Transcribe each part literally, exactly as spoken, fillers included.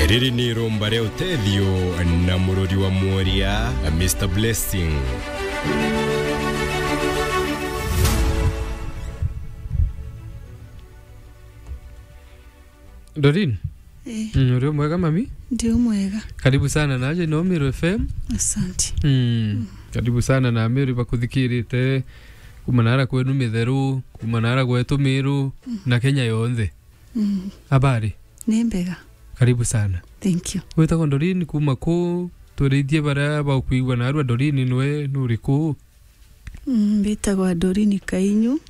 Riri ni irumba ria utethio na mururi wa mworia, Mister Blessing. Doreen? Eh. Mm, uri o mwega mami? Ndi o mwega. Karibu sana naje no Meru F M. Asante. Mm. Karibu sana na Meru bakuthikirite kuma nara kwenu Mitheru, kuma nara gwetu Meru, mm, na Kenya yonthe. Mm. Habari? Ni mbega. Karibu sana. Thank you. Witagwa Doreen kuma ku? Twerithie baria bakwigua narua Doreen nwe nuri ku? Mm, mbitagwa Doreen Kainyu.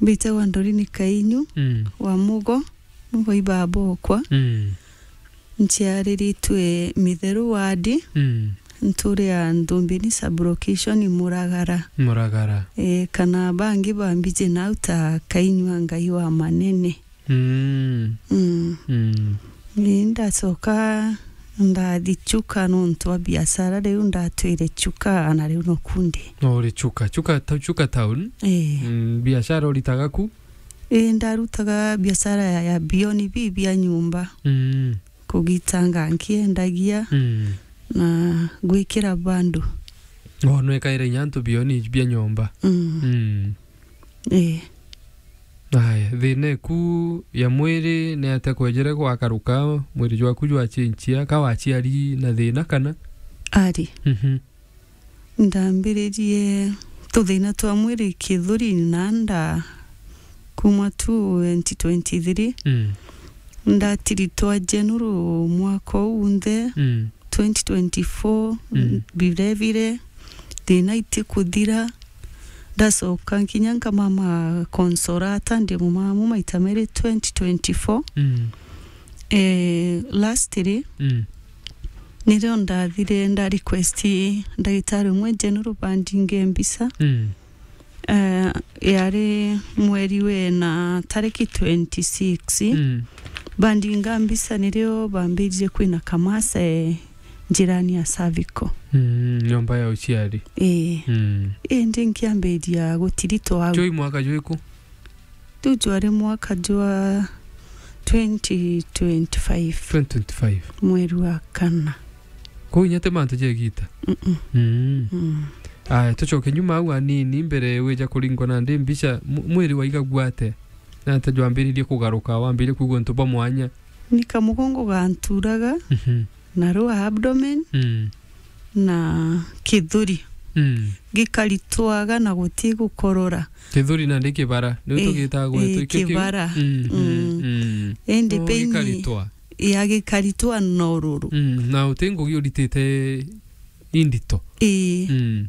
Mbitagwa Doreen Kainyu, mm, wa Mugo, Mugo i baba okwa. Mm. Nciariritwe Mitheru ward, mm, nturi ya Nthumbini sub-location Muragara. Muragara. Eh, kana bangi bambiji nau ta Kainyu a Ngai wa Manene. Mm. Mm. Mm. Ni ndacoka ndathi Chuka nontu wa biashara, riu ndatwire Chuka na riu noku ndi. No uri Chuka, Chuka, ta-, Chuka town? Eh. Mm, biashara uritaga ku? Ii, ndarutaga biashara ya, ya bioni bi bia nyumba. Mm. Kugitanga nkiendagia, mm, na gwikira bandu. Oh, nwekaire inya antu bioni bia nyomba. Mm. Mm. Ii. Aya, thina eku ya mwiri ni atia kwejere gwakaruka, mwiri jwaku jwachinchia, ka waciari na thina kana? Ari. Mhm. Ndambiririe tuthina twa mwiri kithuri na nda kuma tu twenty twenty-three. Mm. Ndatiritwa general mwaka uu unthe, mm, twenty twenty-four, mm, birevire, thina itikuthira. Ndacoka nkinya nkamama Consolata, ndi mumamu maita meri twenty twenty-four. Mm. Eh, lastly, mm, nirio ndathire nda request ndagitari umwe general bandinge mbica. Mm. Eh, yari mweri wena tariki twenty-six. Mm. Bandinga mbica nirio bambiririe kwina kamasa, eh, njirani ya cervical. Mm, nyomba ya uciari. Ii. Mm. Indi nkiambiria gutiritwa au. Joi mwaka jwiku? Riu jwari mwaka jwa twenty twenty-five. Twenty twenty-five. Mweri wa kana. Kuu inya ti mantu ja igita? Mm-mm. Mm. Mm. Aya, tucoke nyuma au anini mbere wija kuringwa nandi mbica, mu-, mwiri waigagua atia? Na atia jwambiririe kugaruka, wambiririe kwigua untu bwa mwanya? Ni kamugongo ganturaga, mhm, na rwa abdomen, mm, na kithuri. Mm. Gikaritwaga na guti gukorora. Kithuri nandi kibara, niu, ii, tugitaga gwetu, ii, iki kiu? Kibara. Mm, mm, mm, mm. Indi, oh, pain gikaritwa. Ya gikaritwa na ururu. Mm, na uti ngugi uritite indito. Ii. Mm.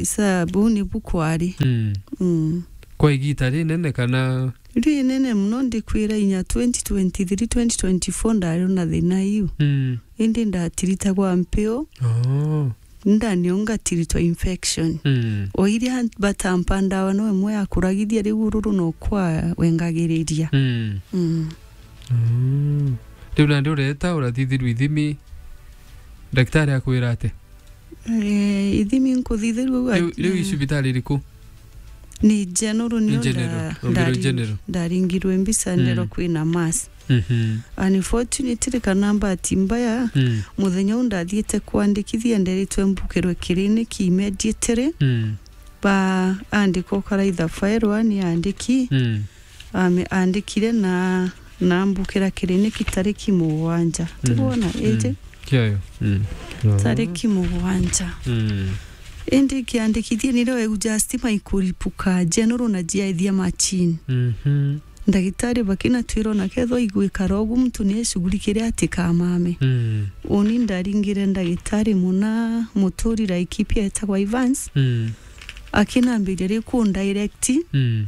Sa buu nibu kwari. Mm. Mm. Kwa igita rinene kana? Rinene muno, ndikwira inya twenty twenty-three, twenty twenty-four ndari na thina iu. Mm. Indi ndatiritagwa mpio. Oh. Ndani o ngatiritwa infection. Mm. O iria batampa ndawa no imwe ya kuragithia, riu ururu no kwa wengagiriria. Mm. Mm. Mm. Riu nandi ureta urathithirwa ithimi, ndagitari akwira atia? Eh, ithimi nkuthithirwa au. Riu, ati riu i cibitari iriku? Ni general, nio. Ni general. Nda-, ombirwe ndari-, general. Ndaringirwe mbica, mm, ndero kwina mass. Mhm. Unfortunately, kana bahati mbaya, mm, muthenya u ndathiite kwandikithia, nderitwe mbukirwe clinic immediately. Mm. Baandika ukaraitha file, ani andiki. Mm. Ame-, andikire na, na mbukira clinic tariki mugwanja. Mm. Tibwona, mm, iji? Kiayo. Mm. Tariki mugwanja. Mm. Indi nkiandikithia nirio eu just my kuripuka general na jiaithia machine. Mhm. Ndagitari bakinatwira ona kethwa igwikara ugu muntu ni eshughulikire atikamame. Mm. Uni ndaringire ndagitari muna muturi Laikipia etagwa Evans. Mm. Akinambiria riu kundirect. Mm.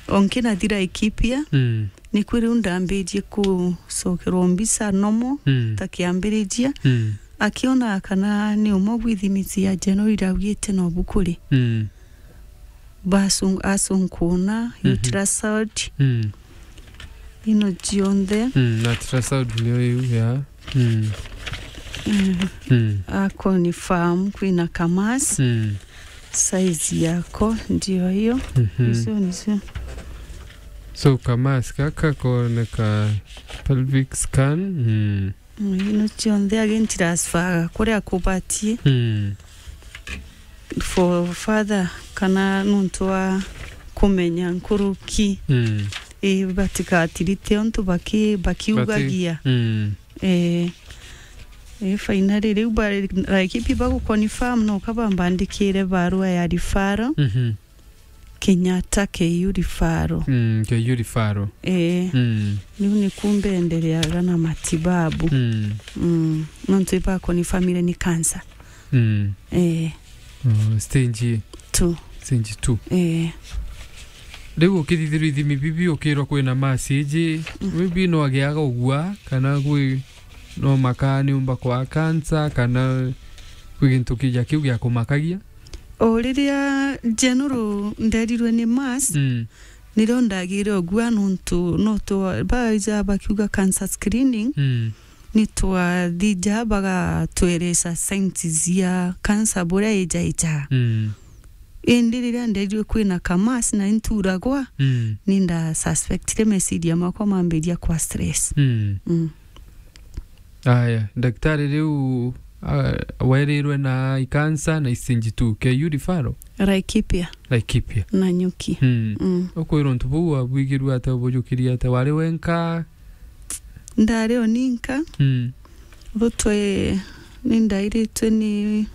O nkinathira Laikipia, mm, nikwi riu ndambirie kucokerwa mbica normal, mm, ta kiambiriria. Mm. Akiona kana ni umwe bwa ithimi cia general iraugite no bukuri. Mm. Basu-, asunkuna, mm-hmm, ultrasound. Mm. Ino cionthe. Mm, ultrasound niyo iu, ya. Mm. Mm. Mm. A confirm kwina ka mass. Mm. Size yako ndio hiyo. Mhm. Icio nicio. So, ka mask gaka kooneka pelvic scan. Mm. Mm, ino cionthe agintiracibaga kuria kubatie. Mm. For further, kana nontu wa kumenya nkuruki. Mm. Ii, batigatirite untu baki-, bakiugagia. Bati-, mm. Ii. Ii, finally, riu ba-, Laikipia baguconfirm, no kabambandikire barua ya referral. Mhm. Kenyatta K U referral. Mm, K U referral. Ee. Mm. Riu niku mbendereaga na matibabu. Mm. Mm. Nontu ibaconfirmire ni cancer. Mm. Ee. Oh, stage two. Stage two. Ee. Riu ukithithirwa ithimi bibi, ukirwa kwina mass iji, mm, maybe no agiaga ugua, kana gwi, no makaa niumba kwa cancer, kana gwi gintu kija kiu gia kumakagia? O riria general nderirwe ni mass, mm, nirio ndagire ugua nontu no twa-, baija bakiuga cancer screening, mm, ni twathija bagatweresa signs cia cancer buria ijaija. Mm. Indi riria nderirwe kwina ka mass na inturagwa, mm, ni nda suspectire meciria makwa mambiria kwa stress. Mm. Mm. Aya, daktari riu, ah, werirwe na i cancer na i stage two, K U referral? Laikipia. Laikipia. Nanyuki. Mm. Mm. Ukwirwa untu buu wabwigirue atia, ubujukirie atia? Wari wenka? Ndari o ninka. Mm. Butwe ni ndairitwe ni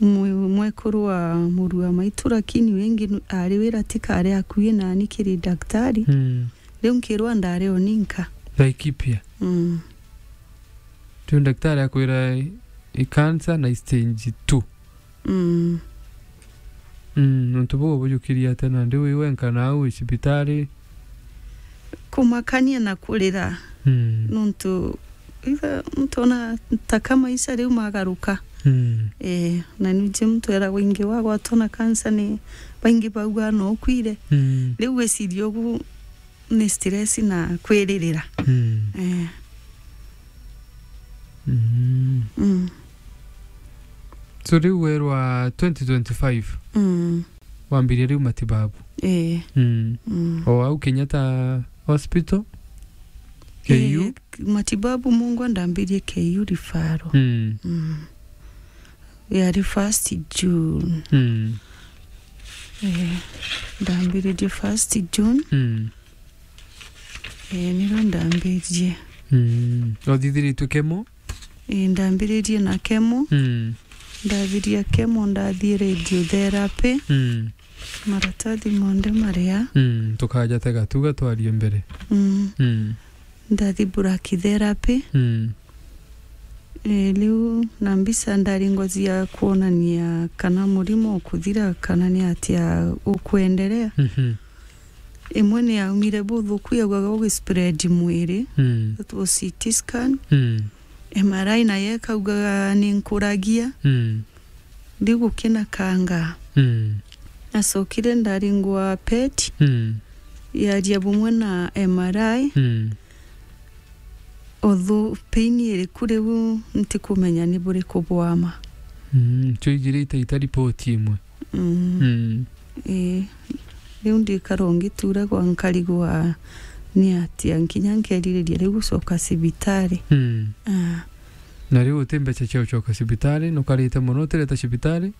mwe-, mwekuru wa muru wa maitu, lakini wingi nu-, ari wira tikari akui nani kiri daktari. Mm. Riu nkirwa ndari o ninka. Laikipia. Mm. Riu daktari akwira i cancer na i stage two. Mm. Mm, nontu buu ubujukirie atia nandi wi wenka nau i cibitari? Kumakania na kurira. Mm. Nontu itha muntu ona ta ka maisha riu magaruka. Mm. Eh, na niji muntu eragwa ingi wagwatwa na cancer ni baingi bauga no ukwire. Mm. Riu gwiciria ugu ni stress na kwiririra. Mm. Eh. Mm. Mm. So riu werwa twenty twenty-five, mm, wambirie riu matibabu? Eh. Mm. Mm. O au Kenyatta Hospital? K U? Eh, matibabu mungwa ndambirie K U referral. Mm. Mm. Yari first June. Mm. Eh, ndambiririe first June. Mm. Eh, niro ndambiririe. Mm. Uthithiritwe chemo? Eh, ndambiririe na chemo. Mm. Ndathiria chemo, ndathie radiotherapy. Mm. Maratathi monthe maria. Mm. Tukaja tega tuga twarie mbere. Mm. Mm. Ndathi brachytherapy. Mm. Eh, riu na mbica ndari ngoji ya kuonania kana murimo ukuthira kana ni atia ukuenderea. Mhm. Imwe ni yaumire buthuku, yaugaga ugispread mwiri. Mm. That was C T scan. Mm. M R I nayo ikaugaga ni nkuragia. Mm. Ndigukina kanga. Mm. Nacokire ndaringwa pet. Mm. Yaria bumwe na M R I. Mm. Although pain iriku riu ntikumenya ni buriku bwa ma. Mm, twijirite ita report imwe. Mm. Mm. Ii. Riu ndikara ungituragwa nkarigwa ni atia, nkinya nkeririria riu gucoka cibitari. Mm. Ah. Na riu uti mbeca cia ucoka cibitari, nukarite mono utireta cibitari?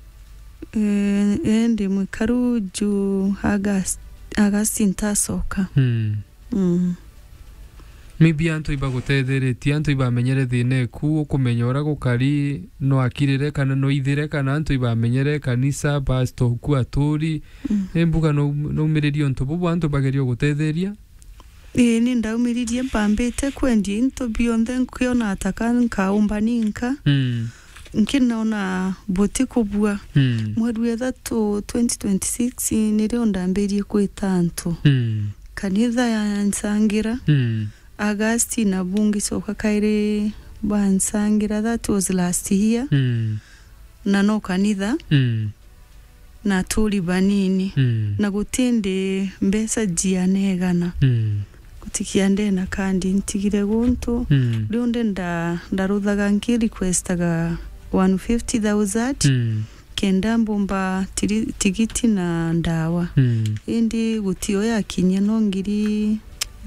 Eh, eh, ndi mwikaru juu August, August ntacoka. Mm. Mm. Maybe antu ibagutetheretie, antu ibamenyere thina eku, ukumenya uria gukari, no akirire kana no ithire, kana antu ibamenyere kanisa, pastor uku aturi. Mm. Ni mbuga no, no umiririe untu bubu antu bagerie gutetheria? Ii, ni ndaumiririe, mpambite kwendia into bionthe, nkiona ta ka nkaumba ninka. Mm. Nkinona buti kubua. Mm. Mweri wa ithatu twenty twenty-six nirio ndambirie kwita antu. Mm. Kanitha yansangira. Mm. August nabu ngicoka kairi bansangira, that was last year. Mm. Na no kanitha. Mm. Na aturi banini. Mm. Na gutindi mbeca jianegana. Mm. Gutikia ndena kandi ntigire guntu. Mm. Riu ndi nda-, ndaruthaga nki requestaga one fifty thousand. Mm. kenda mbumba tiri-, tigiti na ndawa. Mm. Indi gutio yakinyia no ngiri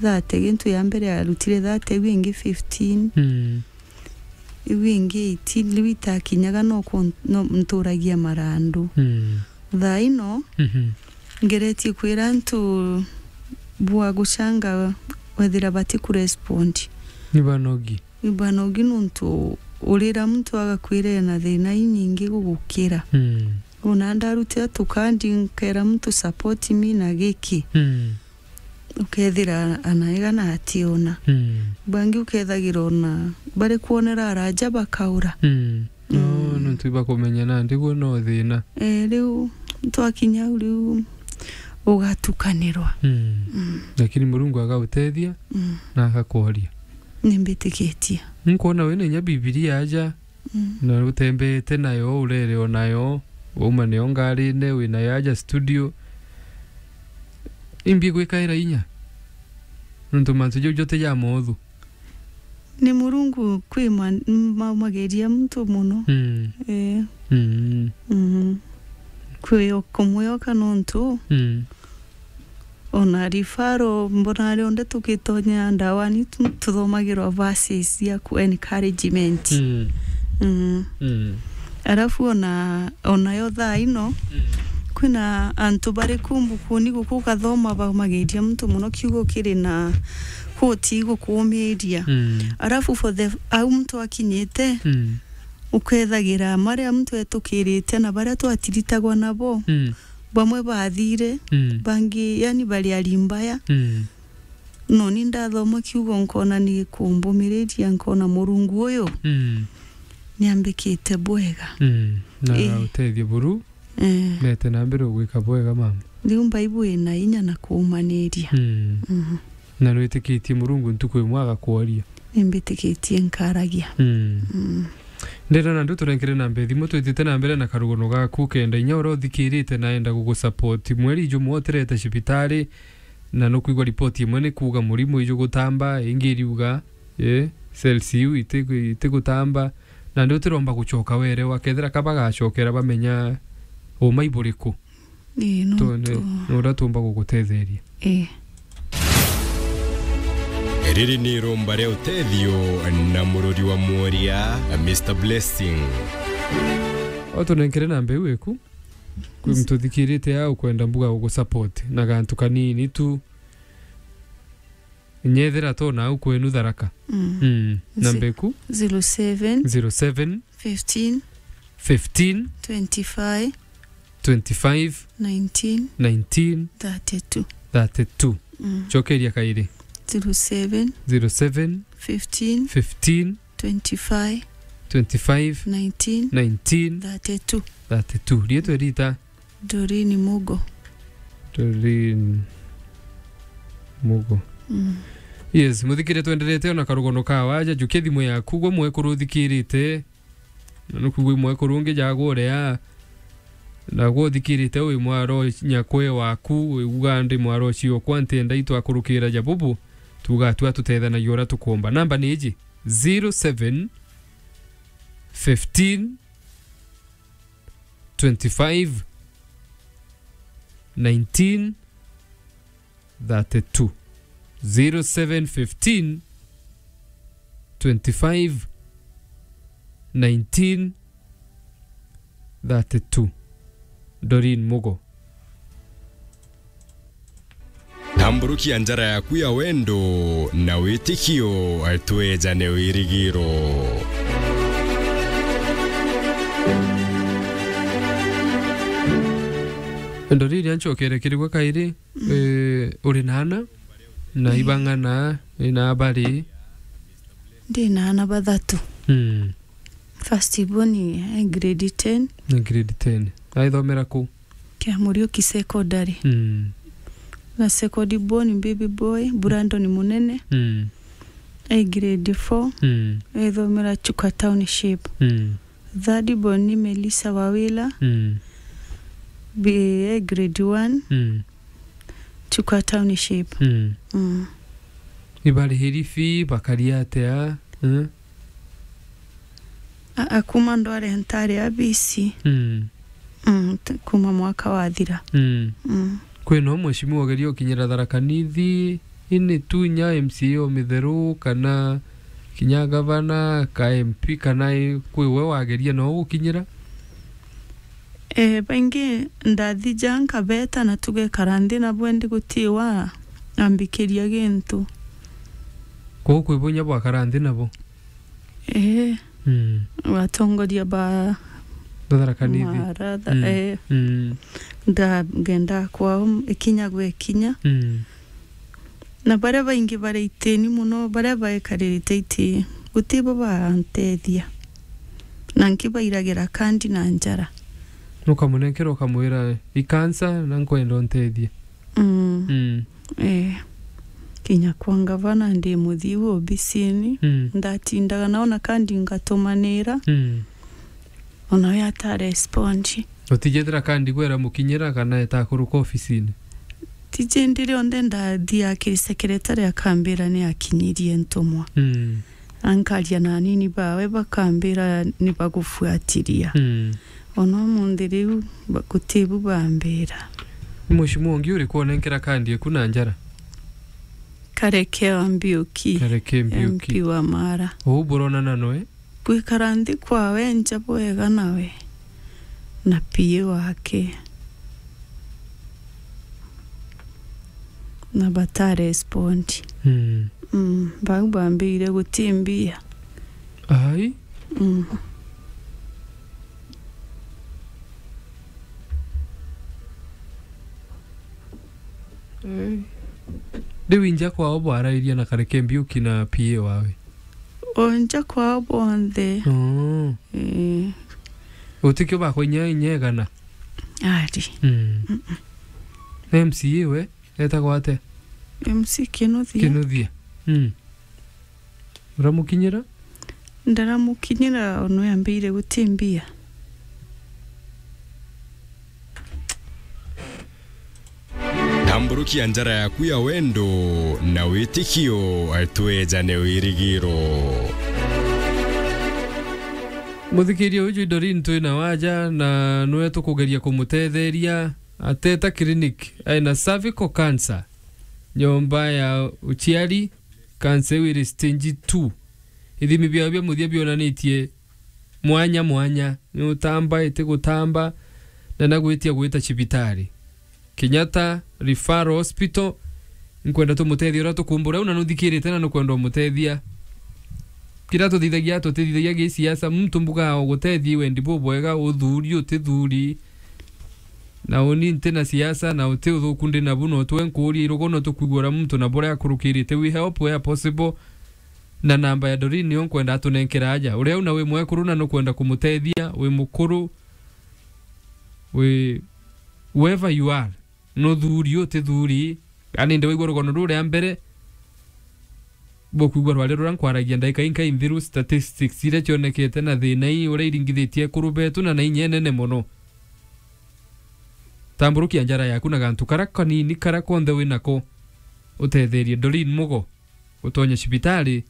thate, gintu ya mbere yarutire thate, iu ingi fifteen. Mm. Iu ingi eighteen, riu itakinyaga no ku-, no nturagia marandu. Mm. Thaa ino, Mhm. ngeretie kwira antu bwa gucanga wethira bati kurespond. Ni banogi. Ni banogi nontu urira muntu agakwira ena thina inyingi gugukira. Mm. Ona ndarutira tukandi nkera muntu support me na giki. Mm. Ukethira anaega na ationa. Mm. Bangi ukethagira ona bari kwonera araja bakaura. Mm. No, Mm. nontu ibakumenya nandi guo no thina. Eh, riu twakinya au riu ugatukanirwa. Mm. Mm. Lakini Murungu agautethia Mm. na agakworia. Nimbitikitie. Nkwona wina inya Bibilia aja Mm. na utembeete nayo, urere o nayo, wauma nayo ngarine, wi nayo aja studio. Imbi gwikaira inya? Nontu mantu jau jote ja moothu. Ni Murungu kwi ma-, maumagiria muntu mono. Mm. Eh. Mm. Mhm. Kwi o kumwioka nontu Mm. Ona referral, mbona rionthe tukitonya ndawani tu-, tuthomagirwa verses cia ku encouragement. Mm. Mm. Mm. Arafu ona, onayo thaa ino, Mm. kwina antu bari ku mbukuni guku ukathoma baumagiria muntu mono kiugo kiri na kuti gukuumiria. Mm. Arafu for the, au muntu akinyite, Mm. ukethagira maria muntu etukirite na baria twatiritagwa nabo, Mm. bamwe bathire, Mm. bangi, yani, bari ari mbaya. Mm. No ni ndathoma kiugo, nkona ni kumbumiriria, nkona Murungu uyu Mm. niambikite bwega. Mm. Na Eh. utethie buru, Eh. mete na mbere ugwika bwega, mama. Riu Mbaibu ina inya na kuumaniria. Mm. Mhm. Na nwitikitie Murungu ntuku imwe agakworia. Nimbitikitie nkaragia. Mm. Mm. Ndenda na ndu turenkere namba ya thimu, twitite na mbere na karugono gaku, kenda inya uria uthikirite na enda gugusupport. Mweri jumwe utirete cibitari, na nukwigua ripoti imwe ni kuuga murimu iju gutamba, ingi iriuga, eh, cells iu iti-, itigutamba, na ndi utiromba gucoka werewa, kethira ka bagacokera bamenya uma iburiku. Ii, no Tu-, ni, tu- ni uria tuumba gugutetheria. Ii. Riri ni iromba ria utethio na murori wa mworia, Mister Blessing. O tunenkere namba iu iku. Kwi muntu uthikirite aa ukwenda mbuga gugusupport na gantu kanini tu. Nyethira to nau kwenu Tharaka. Mm. Mm. Namba iku? Zero seven. Zero seven. Fifteen. Fifteen. Twenty-five. Twenty-five. Nineteen. Nineteen. Thirty-two. Thirty-two. Mm. Cokeria kairi. Zero seven. Zero seven. Fifteen. Fifteen. Twenty-five. Twenty-five. Nineteen. Nineteen. Thirty-two. Thirty-two. Riitwa rita? Doreen Mugo. Doreen Mugo. Mm. Yes, muthikire twenderete ona karugono ka waja, jukia thimu yaku, gwe mwekuru uthikirite. Na nukwigua mwekuru ungi jagwa uria, na gwe uthikirite wi mwaro nyakwe waku, wi uga ndi mwaro ciokwa, ntienda itwakurukira ja bubu, tuga tua tutethanagia uria tukumba. Namba ni iji, zero seven, fifteen, twenty-five, nineteen, thirty-two. Zero seven fifteen, twenty-five, nineteen, thirty-two. Doreen Mugo. Tamburukia njara yaku ya wendo na witikio, twejane wirigiro. Doreen, ancokere kiri gwe kairi. Mm. Eh, uri na ana? Na Mm. ibang'ana, ina abari? Ndi na ana bathatu. Mm. First born e grade ten. Ni grade ten. Aithomera ku? Kia Muriuki Secondary. Mm. Na second born baby boy, Brandon Munene. Mm. E grade four. Mm. Aithomera Chuka Township. Mm. Third born ni Melissa Wawila. Mm. Be-, e grade one. Mm. Chuka Township. Mm. Mm. Ibarihiri fee, bakaria atia? Mm. A-, akuma ndware ntari a B C. Mm. Mm, t-, kuma mwaka wathira. Mm. Mm. Kwina mheshimiwa ugeria ukinyira Tharaka Nithi, ini tu inya M C A o mitheru, kana kinya gavana, ka M P, kana i-, kwi we wageria no gukinyira? Eh, baingi ndathija nkabeta na tugekara nthi nabo, indi guti wa ambikiria gintu. Kuu kwi bunya bwakara nthi nabo? Eh. Mm. Batongoria ba Tharaka Nithi. Mara, tha-, mm, eh. Mm. Ndagenda kwao ikinya gwe kinya. Mm. Na baria baingi bari itini mono, baria baekaririte iti, guti bo bantethia. Na nki bairagira kandi na njara. Nukamunenkera ukamwira, "I cancer, na nkwenda untethie." Mm. Mm. Eh, kinya kwa ngavana ndi muthiu obisini. Mm. Ndatindaga nao na kandi ngatumanira. Mm. Ona we atarespondi. Utijethira kandi gwera mukinyira kana etakuruka ofisini? Tijindi rionthe ndathia kiri secretary akambira ni akinyirie ntumwa. Mm. Ankaria na anini bawe bakambira ni bagufuatiria. Mm. Ona umunthi riu ba-, gutibu bambira. Ni mheshimiwa ungi uriku onenkera kandi eku na njara? Kareke wa Mbiuki. Kareke Mbiuki. M P wa Mara. Uu buronana noe? Gwikara nthi kwawe nja bwega nawe. Na P A wake. Na batarespondi. Mm. Mm, bau bambire guti mbia. Ai. Mm. Eh. Riu inja kwao bwarairie na Kareke Mbiuki na P A wawe? O nja kwao bonthe. Oh. Eh. Utikio bakwa inya, inya egana? Ari. Mm. Mm-mm. Na M C A we etagwa atia? M C Kinuthia. Kinuthia. Mm. Uramukinyira? Ndaramukinyira, ono yambire guti mbia. Tamburukia njara yaku ya wendo na witikio, twejane wirigiro. Muthikiria uju Doreen twina waja, na nwe tukugeria kumutetheria. Ateta clinic, aina cervical cancer, nyomba ya uciari, cancer iu iri stage two. Ithimi biao bia muthia bionanitie mwanya mwanya, ni utamba, iti gutamba, na na gwitia gwita cibitari. Kenyatta Referral Hospital, nkwenda tumutethie uria tukumbura, u na nuthikirite na nukwenda umutethia. Kiria tuthithagia, tutithithagia gisiasa, muntu mbuga ugutethie wendi bubwega, uthuri, utithuri. Na uni nti na siasa, na uti uthuku ndi nabu, no twe nkuuria irugo, no tukwigua uria muntu na buria akurukirite. We help where possible. Na namba ya Doreen niyo nkwenda atunenkera aja. Uria una wi mwekuru na nukwenda kumutethia, wi mukuru, wi whoever you are, nuthuri, utithuri, yani ndi waigua rugono ruria mbere, bukwigua rwari ruria nkwaragia ndagika inkai nthiru, statistics iria cionekete na thina ii uria iringithitie ekuru betu na na inya inene mono. Tamburukia njara yaku na gantu karia kanini karia konthe wi nako, utetherie Doreen Mugo utonye cibitari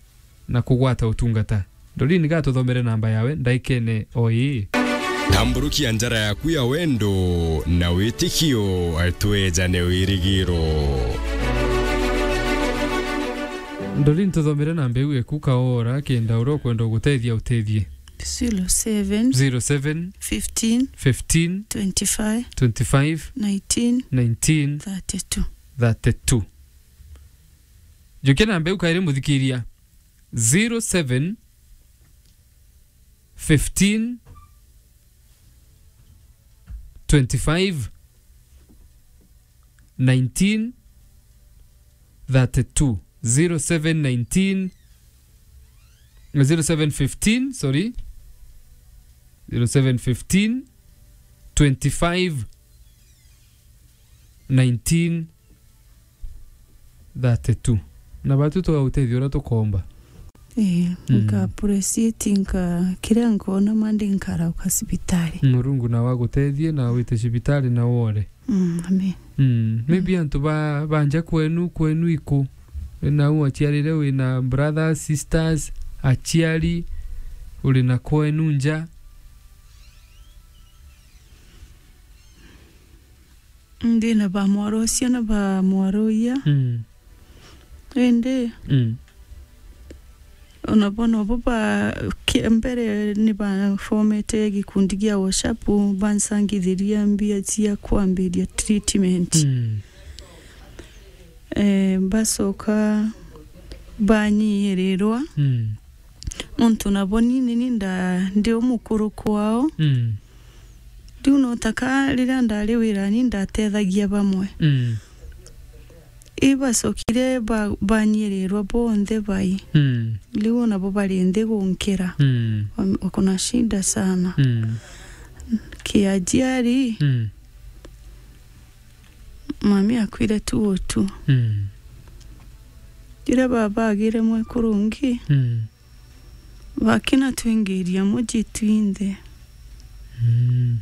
na kugwata utungata. Doreen gatuthomere namba yawe ndaikene o ii. Tamburukia njara yaku ya wendo na witikio, twejane wirigiro. Doreen, tuthomere namba iu eku kaora, kenda uria ukwenda ugutethia utethie. Zero seven. Zero seven. Fifteen. Fifteen. Twenty-five. Twenty-five. Nineteen. Nineteen. Thirty-two. Thirty-two. Njukia namba iu kairi muthikiria. Zero seven, fifteen, twenty-five, nineteen, thirty-two. Zero seven nineteen, zero seven fifteen, sorry. Zero seven fifteen, twenty-five, nineteen, thirty-two. Na batu tugautethia uria tukomba. Ii, mm, nka appreciate nka kiria nkona mandi nkarauka cibitari. Murungu nawe agutethie na wite cibitari na wore. Mm, amen. Mm. Maybe, mm, antu ba, banja kwenu, kwenu iku? Wina u aciarire, wina brothers, sisters, aciari, uri na kwenu nja? Ndi na ba mwaro ucio na ba mwaro uya. Mm. Indi, mm, ona bo nobo ba, ki-, mbere ni bafomete gikundi gia WhatsApp, bansangithiria mbia cia kwambiria treatment. Mm. Eh, bacoka banyiirirwa. Mm. Nontu nabo ni, ni, ni nda-, ndi umukuru kwao. Mm. Riu no ta ka riria ndari wirani ndatethagia bamwe. Mm. Ibacokire ba-, banyirirwa bonthe bai. Mm. Riu nabo bari nthi gunkira. Mm. Wam-, wako na shida sana. Mm. Kiajiari, mm, mami akwire tu utu. Mm. Riria baba agire mwekuru ungi, mm, bakina twingiria muji twinthe. Mm.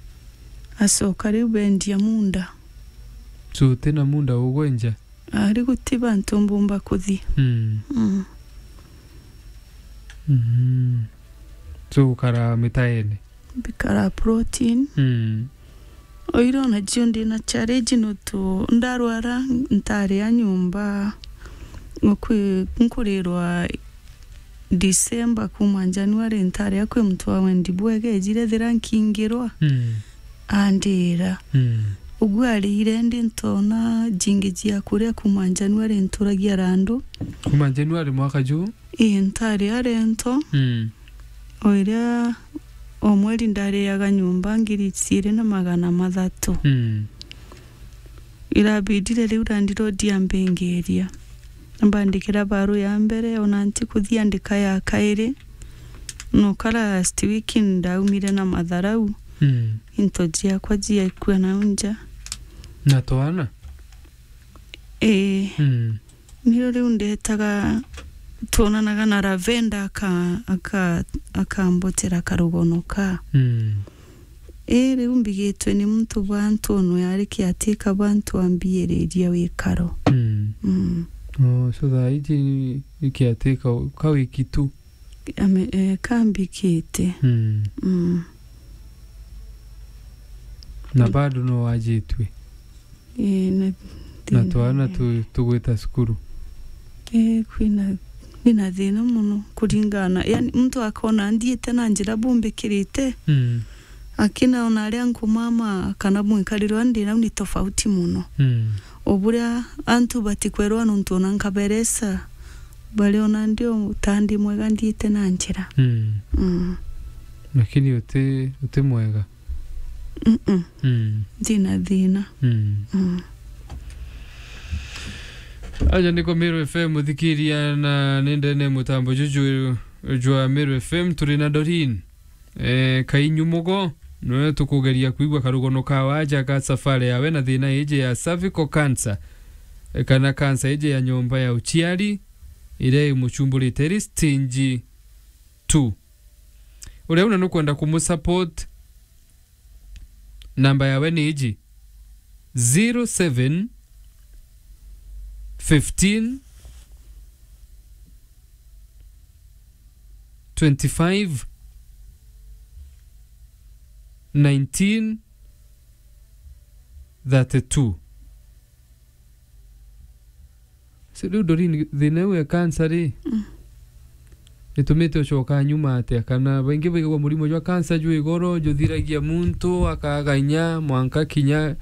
Acoka riu bendia munda. So, uti na munda ugwenja? Ari guti bantu mbumba kuthi. Mm. Mm. Mm. So, ukara mitaene? Mbikara protein. Mm. Oira ona jio ndi na challenge nontu ndarwara ntari a nyomba. Nkwi-, nkurirwa December kuma January ntari a kwi muntu wa wendi bwega ejire thira nkingirwa. Mm. Andira. Mm. Ugu arire ndi ntona jingi jia kuria kuma January nturagia randu. Kuma January mwaka juu? Ii, ntari a rento. Mm. O iria o mweri ndariaga nyomba ngiri ciiri na magana mathatu. Mm. Irabidire riu landlord ambingiria. Ambandikira barua ya mbere, ona ntikuthi andika ya kairi. Noka last week ndaumire na matharau. Mm. Into jiakwa jiaikua nau nja. Na twana? Ii. Mm. Nio riu ndetaga, twonanaga na Lavender aka-, aka-, akambotera karugono ka. Mm. Ii, riu mbigitwe ni muntu bwa antu ono yari kiatika bwa antu ambiiriria wikaro. Mm. Mm. Oh, so thaa iji ni kiatika ka wiki tu? Ame-, eh, kambikite. Mm. Mm. Na bado no wajitwe? Ii, na Na thina twana ni tu-, tugwita cukuru? Ii, kwina, kwina thina mono kuringana, yani, muntu akona nthiite na njira bumbikirite, mm, akina ona aria nkumama kana mwikarire uria ndi nau ni tofauti mono. Mm. O buria antu batikwerwa nontu ona nkaberesa, bariona ndi o ta ndi mwega nthiite na njira. Mm. Mm. Lakini uti, uti mwega? Mm-mm. Mm. Thina, thina. Mm. Mm. Aja niko Meru F M muthikiria na nindene mutambo juju jwa Meru F M turi na Doreen. Eh, Kainyu Mugo, nwe tukugeria kwigua karugono ka waja ka safari yawe na thina iji ya cervical cancer, eh, kana cancer iji ya nyomba ya uciari, iria imuchumburite iri stage two. Uria una nukwenda kumusupport, namba yawe ni iji, zero seven fifteen twenty-five nineteen thirty-two. Si riu Doreen, thina iu ya cancer ri, mm, itumite ucoka nyuma atia? Kana baingi baigagua murimo jwa cancer jwi goro, juthiragia muntu, akaga inya, mwanka kinya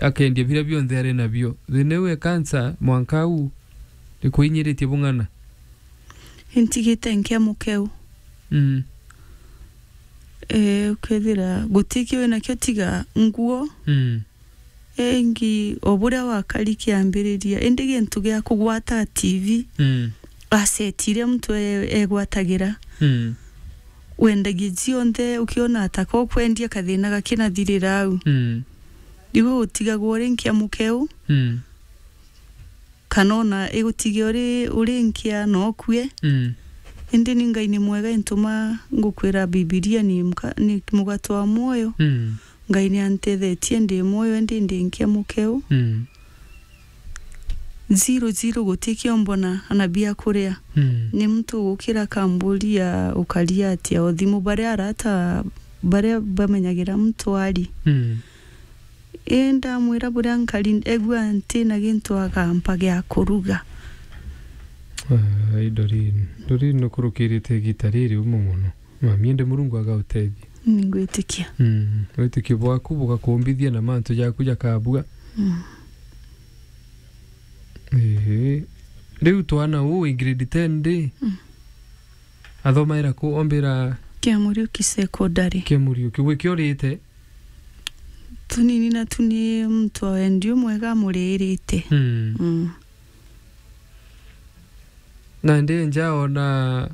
akendia biria bionthe ari nabio. Thina iu ya cancer, mwanka au, ikuinyiritie bung'ana? Intigite nkia mukeu. Mm. Eh, ukethira gutikio winakio tiga nguo. Mm. Ingi o buria wakari kiambiriria, indi gintu gia kugwata T V, mm, asset iria muntu e-, egwatagira. Mm. Wendagia cionthe, ukiona ataka ukwendia kathina gakinathirira au. Mm. Riu utigagwa uri nkia mukeu. Mm. Kana ona igutige uri, uri nkia na ukue. Mm. Indi ni Ngai ni mwega, intuma ngukwira Bibilia ni mka-, ni mugate wa mwoyo. Mm. Ngai ni antethetie ndi mwoyo, indi ndi nkia mukeu. Mm. Zero zero gutikio mbona ana bia kuria. Mm. Ni muntu ugukira akamburia ukaria atia o thimu, baria arata baria bamenyagira muntu ari. Mm. Ii ndamwira buria nkari, egua ntina gintu agampa gia kuruga. Ai, Doreen. Doreen nukurukirite igita riri umo mono. Mami, indi Murungu agautethia. Ningwitikia. Mm. Witikio bwaku bugakumbithia na mantu jaku jakabua. Mm. Ehe. Riu twana uu wi grade ten ri? Mm. Athomaira ku? Ombira Kia Muriuki Secondary. Kia Muriuki. Gwikiorite? Tunini na tuni muntu wa wendi umwega amuririte. Mm. Mm. Na ndi nja ona,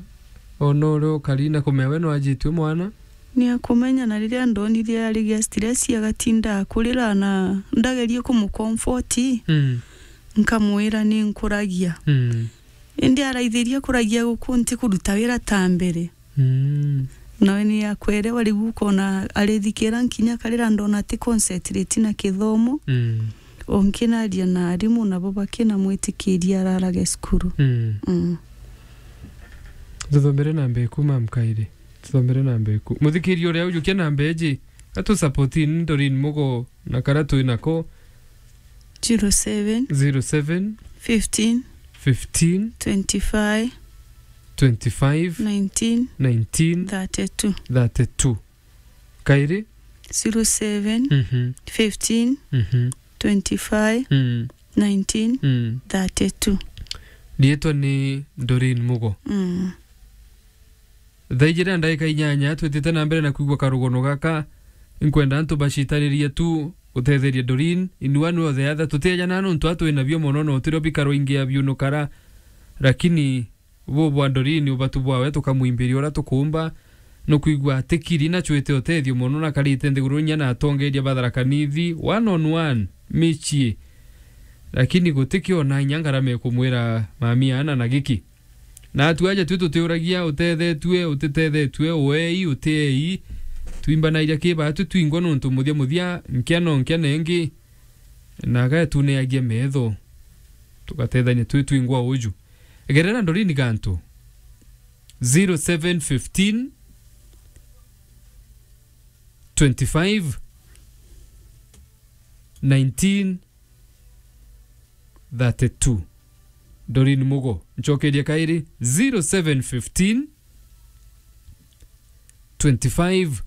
ona uria ukari na kumea we nwajitue mwana? Ni akumenya, na riria ndonire ari gia stress, agatinda akurira na ndagerie kumucomfort, Mm. nkamwira ni nkuragia. Mm. Indi araithirie kuragia guku nti kuruta wira ta mbere. Mm. Nawe ni akwerewa riu ukona arithikira nkinya karira ndona ati concentrate na kithomo. Mm. O nkinaria na arimu nabo bakinamwitikiria ararage cukuru. Mm. Mm. Tuthomere namba eku, mam, kairi. Tuthomere namba eku. Muthikiria uria ujukia namba eji, atu support ni Doreen Mugo na kara twi nako. Zero seven. Zero seven. Fifteen. Fifteen. Twenty-five. Twenty-five. Nineteen. Nineteen. Thirty-two. Thirty-two. Kairi? Zero seven. Mhm. Fifteen. Mhm. Twenty-five. Mm. Nineteen. Mm. Thirty-two. Riitwa ni Doreen Mugo. Mm. Thaa ijiri na ndagika inyanya, twitite na mbere na kwigua karugono gaka. Nkwenda antu bacitaririe tu gutetheria Doreen. In one way or the other, tutiejana nontu atwi nabio mono, no tirio bikaro ingi abiunukara. Lakini bu bwa Doreen, ubatu bwawe tukamwimbiria uria tukumba. Nukwigua atikiri na cwite utethio mono, na karite nthiguru inya na atongeria ba Tharaka Nithi, one on one, micii. Lakini gutikio na inya ngarama ikumwira mami ana na giki. Na atu aja twi tutiuragia utethetue, utitethetue, uei, utiei. Twimbanairia ki batu twingwa nontu muthia muthia, nkia no nkia nengi, na agaetuneagia metho. Tugatethania twi twingwa uju. Gerera Doreen gantu. Zero seven fifteen, twenty-five, nineteen, thirty-two. Doreen Mugo. Ncokeria kairi, zero seven fifteen, twenty-five,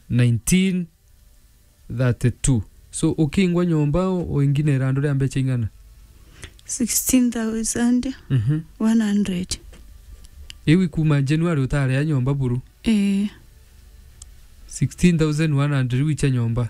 nineteen, thirty-two. So, ukingwa nyomba, u-, uinginera andu ria mbecha ing'ana? Sixteen thousand one hundred. Mhm. Iu ikuma January utaria nyomba buru? Ii. Sixteen thousand one hundred wicha nyomba?